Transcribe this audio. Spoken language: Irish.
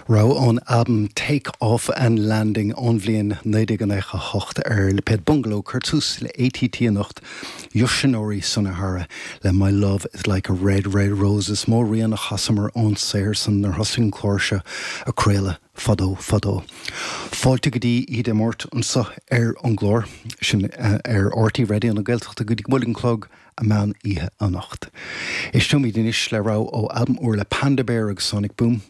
Rogha ón albam Take Off and Landing ón bhliain 1998 ar lipéad Bungalow, cuir tús le ATT anocht, Yoshinori Sonohara le My Love Is Like a Red Red Rose. Is mó rian a chasamar ón saothar san nuair thosaigh an clár seo a craoladh fadó fadó. Fáilte go dtí Oíche Dé Máirt anseo ar an gclár, sin ar RTÉ Raidió na Gaeltachta go dtí go mbuailfidh an clog a meán oíche anocht. Éisteoimid anois le rogha ó albam úr le Panda Bear agus Sonic Boom.